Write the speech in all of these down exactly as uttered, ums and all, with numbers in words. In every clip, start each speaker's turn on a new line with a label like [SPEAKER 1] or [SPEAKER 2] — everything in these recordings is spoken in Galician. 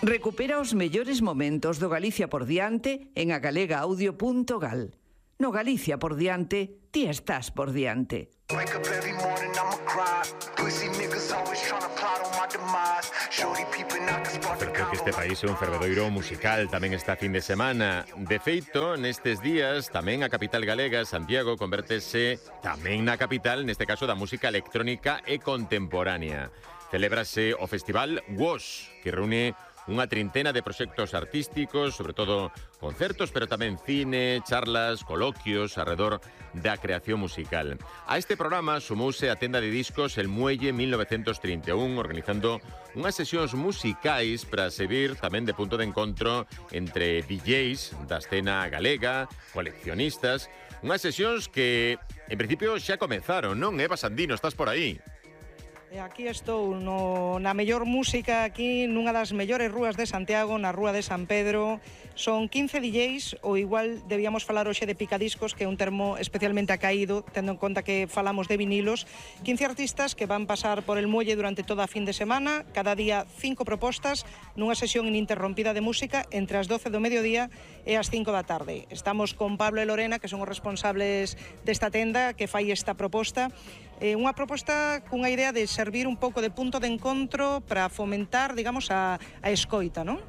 [SPEAKER 1] Recupera os mellores momentos do Galicia por diante en agalegaaudio punto gal. No Galicia por diante, ti estás por diante.
[SPEAKER 2] Cerca que este país é un fervedoiro musical tamén esta fin de semana. De feito, nestes días, tamén a capital galega, Santiago, convértese tamén na capital, neste caso, da música electrónica e contemporánea. Celébrase o Festival W O S, que reúne unha trintena de proxectos artísticos, sobre todo concertos, pero tamén cine, charlas, coloquios arredor da creación musical. A este programa sumouse a tenda de discos El Muelle mil novecientos trinta e un, organizando unhas sesións musicais para servir tamén de punto de encontro entre D Js da escena galega, coleccionistas, unhas sesións que, en principio, xa comenzaron, non? Eva Sandino, estás por aí?
[SPEAKER 3] E aquí estou no, na mellor música, aquí nunha das mellores rúas de Santiago, na Rúa de San Pedro. Son quince D Js, ou igual debíamos falar hoxe de picadiscos, que é un termo especialmente acaído, tendo en conta que falamos de vinilos. quince artistas que van pasar por el muelle durante toda a fin de semana, cada día cinco propostas, nunha sesión ininterrompida de música entre as doce do mediodía e as cinco da tarde. Estamos con Pablo e Lorena, que son os responsables desta tenda que fai esta proposta. Eh, unha proposta cunha idea de servir un pouco de punto de encontro para fomentar, digamos, a, a escoita, non?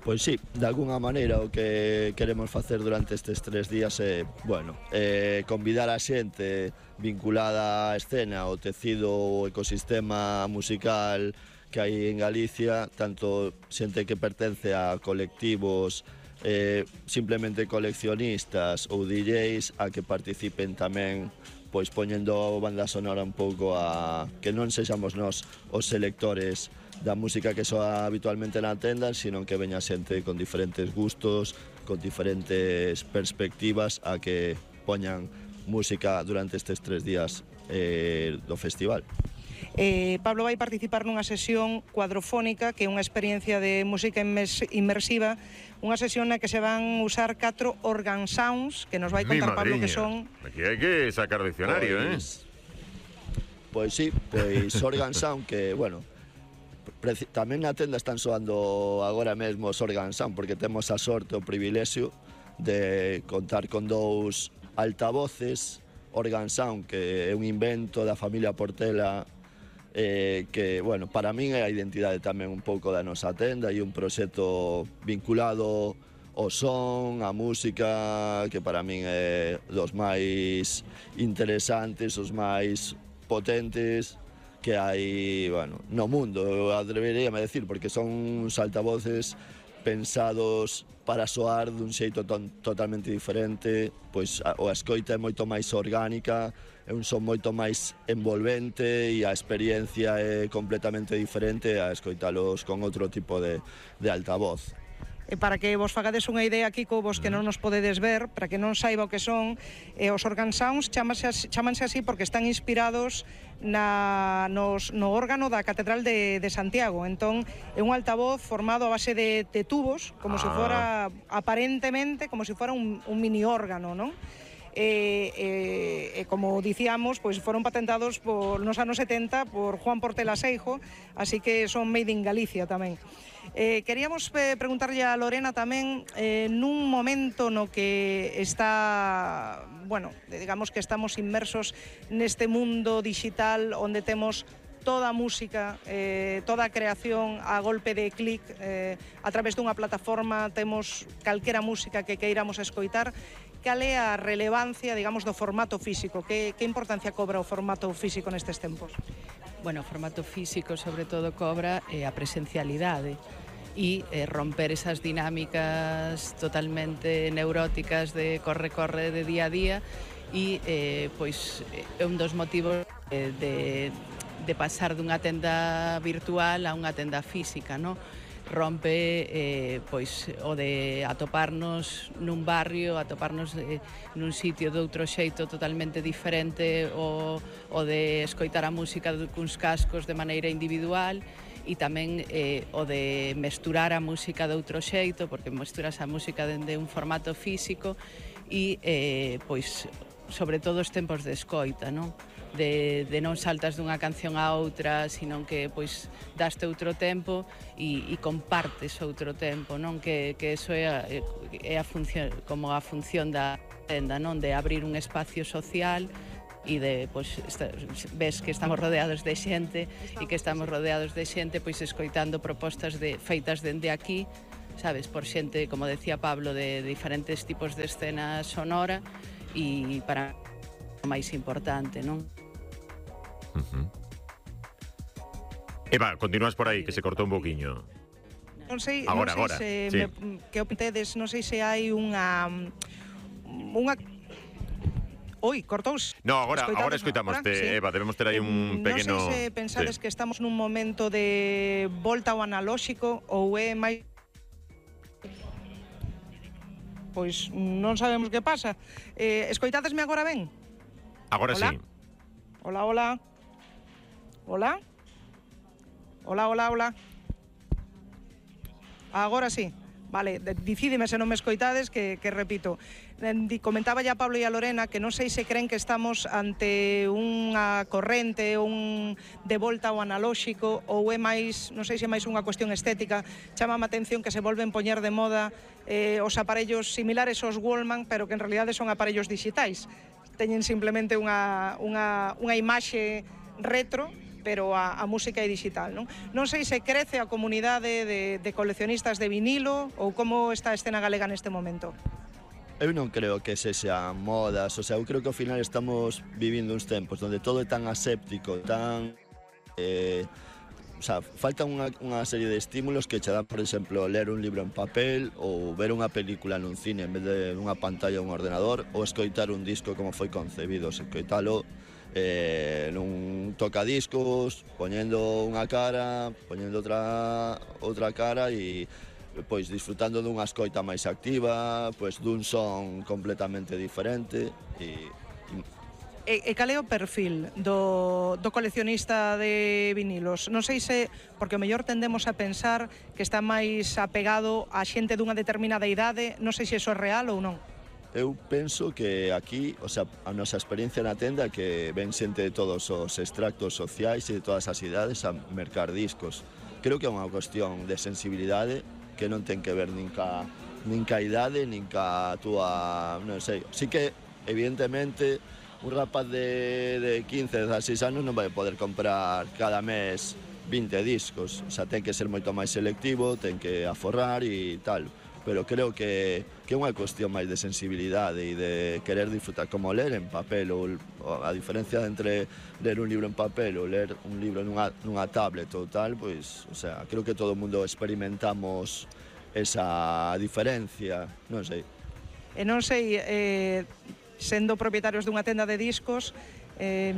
[SPEAKER 4] Pois sí, de alguna maneira o que queremos facer durante estes tres días é, bueno, é convidar a xente vinculada á escena, ao tecido, o ecosistema musical que hai en Galicia, tanto xente que pertence a colectivos, eh, simplemente coleccionistas ou D Js, a que participen tamén pois poñendo banda sonora un pouco a que non sexamos nós os selectores da música que soa habitualmente na tenda, sino que veña xente con diferentes gustos, con diferentes perspectivas a que poñan música durante estes tres días eh, do festival.
[SPEAKER 3] Eh, Pablo vai participar nunha sesión cuadrofónica, que é unha experiencia de música inmersiva, unha sesión na que se van usar catro organ sounds, que nos vai contar Pablo que son...
[SPEAKER 2] Aquí hai que sacar diccionario,
[SPEAKER 4] pois, eh? Pois sí, pois organ sound que, bueno, tamén na tenda están soando agora mesmo os organ sound, porque temos a sorte, o privilexio de contar con dous altavoces organ sound, que é un invento da familia Portela, eh, que, bueno, para min é a identidade tamén un pouco da nosa tenda e un proxecto vinculado ao son, a música, que para min é dos máis interesantes, os máis potentes que hai, bueno, no mundo, atreveríame a decir, porque son uns altavoces pensados para soar dun xeito ton, totalmente diferente, pois a, a escoita é moito máis orgánica, é un son moito máis envolvente e a experiencia é completamente diferente a escoitalos con outro tipo de, de altavoz.
[SPEAKER 3] E para que vos fagades unha idea, Kiko, vos que non nos podedes ver, para que non saiba o que son, eh, os organ sounds chámanse así, chámanse así porque están inspirados na, nos, no órgano da Catedral de, de Santiago. Entón, é un altavoz formado a base de, de tubos, como ah. se fora, aparentemente, como se fora un, un mini órgano, non? E, e, e como dicíamos, pois foron patentados por, nos anos setenta por Juan Portela Seijo, así que son made in Galicia tamén. Eh, queríamos eh, preguntarlle a Lorena tamén, eh, nun momento no que está, bueno, digamos que estamos inmersos neste mundo digital onde temos toda a música, eh, toda a creación a golpe de clic, eh, a través dunha plataforma temos calquera música que queiramos escoitar. Cal é a relevancia, digamos, do formato físico? Que, que importancia cobra o formato físico nestes tempos?
[SPEAKER 5] Bueno, o formato físico, sobre todo, cobra eh, a presencialidade e eh, romper esas dinámicas totalmente neuróticas de corre-corre de día a día e, eh, pois, é un dos motivos eh, de, de pasar dunha tenda virtual a unha tenda física, non? Rompe eh, pois o de atoparnos nun barrio, atoparnos eh, nun sitio de outro xeito totalmente diferente, o, o de escoitar a música cuns cascos de maneira individual, e tamén eh, o de mesturar a música de outro xeito, porque mesturas a música dende un formato físico e eh, pois sobre todo os tempos de escoita, non? de, de non saltas dunha canción a outra, sino que pois daste outro tempo e, e compartes outro tempo, non? Que, que eso é, a, é a función, como a función da tenda, non? De abrir un espacio social e de, pois, esta, ves que estamos rodeados de xente e que estamos rodeados de xente pois escoitando propostas de feitas dende aquí, sabes, por xente, como decía Pablo, de diferentes tipos de escena sonora e para o máis importante, non?
[SPEAKER 2] Uh-huh. Eva, continúas por aí, que se cortou un boquiño.
[SPEAKER 3] Non sei,
[SPEAKER 2] agora,
[SPEAKER 3] non
[SPEAKER 2] agora,
[SPEAKER 3] sei se
[SPEAKER 2] sí.
[SPEAKER 3] me, que opintedes, non sei se hai unha unha Oi, cortouse.
[SPEAKER 2] No, agora,
[SPEAKER 3] Escoitades,
[SPEAKER 2] agora escoitamos,
[SPEAKER 3] agora,
[SPEAKER 2] te,
[SPEAKER 3] sí.
[SPEAKER 2] Eva, debemos ter aí un pequeno...
[SPEAKER 3] Non sei se pensades
[SPEAKER 2] sí.
[SPEAKER 3] que estamos nun momento de volta ao analóxico ou é máis... Pois non sabemos que pasa. Eh, escoitadesme agora ben?
[SPEAKER 2] Agora
[SPEAKER 3] Hola?
[SPEAKER 2] sí.
[SPEAKER 3] Hola, hola. Hola? Hola, hola, hola. Agora sí. Vale, dicídeme se non me escoitades que, que repito. Comentaba ya Pablo e a Lorena que non sei se creen que estamos ante unha corrente, un de volta ao analóxico ou é máis, non sei se é máis unha cuestión estética. Chama a atención que se volven poñer de moda eh, os aparellos similares aos Wallman, pero que en realidade son aparellos digitais. Teñen simplemente unha, unha, unha imaxe retro, pero a, a música é digital, non? Non sei se crece a comunidade de, de coleccionistas de vinilo ou como está a escena galega neste momento.
[SPEAKER 4] Eu non creo que se sean modas, o sea, eu creo que ao final estamos vivindo uns tempos onde todo é tan aséptico, tan... Eh, o sea, falta unha, unha serie de estímulos que che dan, por exemplo, ler un libro en papel ou ver unha película nun cine en vez de unha pantalla ou un ordenador ou escoitar un disco como foi concebido, escoitalo eh, nun tocadiscos, poñendo unha cara, poñendo outra, outra cara e pois disfrutando dunha escoita máis activa, pois dun son completamente diferente e,
[SPEAKER 3] e... E cal é o perfil do, do coleccionista de vinilos? Non sei se, porque o mellor tendemos a pensar que está máis apegado a xente dunha determinada idade, non sei se iso é real ou non.
[SPEAKER 4] Eu penso que aquí, o sea, a nosa experiencia na tenda que ven xente de todos os extractos sociais e de todas as idades a mercar discos. Creo que é unha cuestión de sensibilidade que non ten que ver nin ca, nin ca idade, nin ca túa, non sei. Sí que, evidentemente, un rapaz de, de quince, dezasseis anos non vai poder comprar cada mes vinte discos. O sea, ten que ser moito máis selectivo, ten que aforrar e tal. Pero creo que, que é unha cuestión máis de sensibilidade e de querer disfrutar, como ler en papel, ou a diferencia entre ler un libro en papel ou ler un libro nunha, nunha tablet ou tal, pois, o sea, creo que todo o mundo experimentamos esa diferencia, non sei.
[SPEAKER 3] E non sei, eh, sendo propietarios dunha tenda de discos, eh,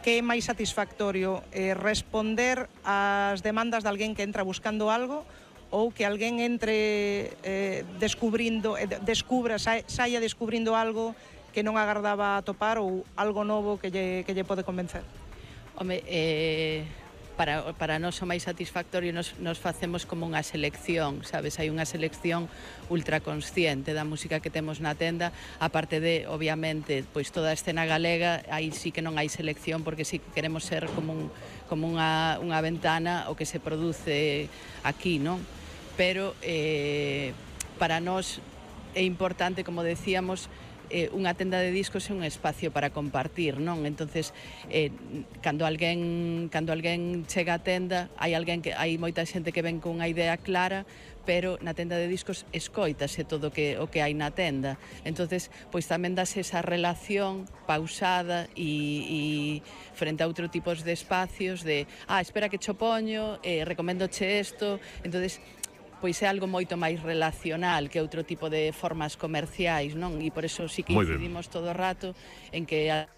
[SPEAKER 3] que é máis satisfactorio, eh, responder ás demandas de alguén que entra buscando algo ou que alguén entre eh, descubrindo, eh, descubra, sa, saia descubrindo algo que non agardaba atopar ou algo novo que lle, que lle pode convencer?
[SPEAKER 5] Home, eh, para, para nós o máis satisfactorio nos, nos facemos como unha selección, sabes? Hai unha selección ultraconsciente da música que temos na tenda, aparte de, obviamente, pois toda a escena galega, aí sí que non hai selección porque sí que queremos ser como, un, como unha, unha ventana o que se produce aquí, non? Pero eh, para nós é importante, como decíamos, eh, unha tenda de discos é un espacio para compartir, non? Entonces, eh, cando alguén cando alguén chega á tenda, hai alguén que hai moita xente que ven con unha idea clara, pero na tenda de discos escoítase todo o que o que hai na tenda. Entonces, pois tamén dase esa relación pausada e, e frente a outro tipos de espacios de, ah, espera que cho poño, eh, recoméndoche isto. Entonces, pois é algo moito máis relacional que outro tipo de formas comerciais, non? E por eso sí que incidimos todo o rato en que a...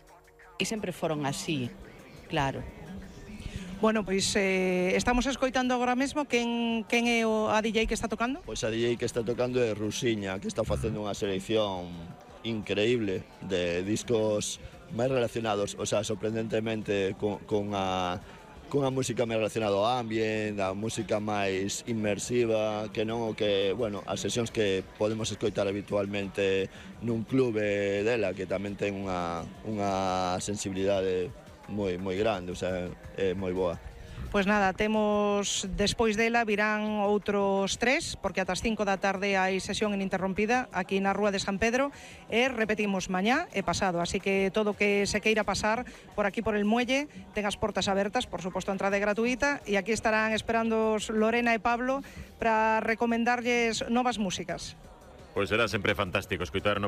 [SPEAKER 5] e sempre foron así, claro.
[SPEAKER 3] Bueno, pois eh, estamos escoitando agora mesmo quen, quen é o, a D J que está tocando?
[SPEAKER 4] Pois a D J que está tocando é Rusiña, que está facendo unha selección increíble de discos máis relacionados, o sea, sorprendentemente con, con a cunha música máis relacionada ao ambient, a música máis inmersiva, que non o que, bueno, as sesións que podemos escoitar habitualmente nun clube dela, que tamén ten unha, unha sensibilidade moi moi grande, o sea, é moi boa.
[SPEAKER 3] Pois nada, temos despois dela virán outros tres, porque ata as cinco da tarde hai sesión ininterrompida aquí na Rúa de San Pedro e repetimos mañá e pasado, así que todo que se queira pasar por aquí por el muelle ten as portas abertas, por suposto a entrada é gratuita e aquí estarán esperando Lorena e Pablo para recomendarlles novas músicas.
[SPEAKER 2] Pois será sempre fantástico escutar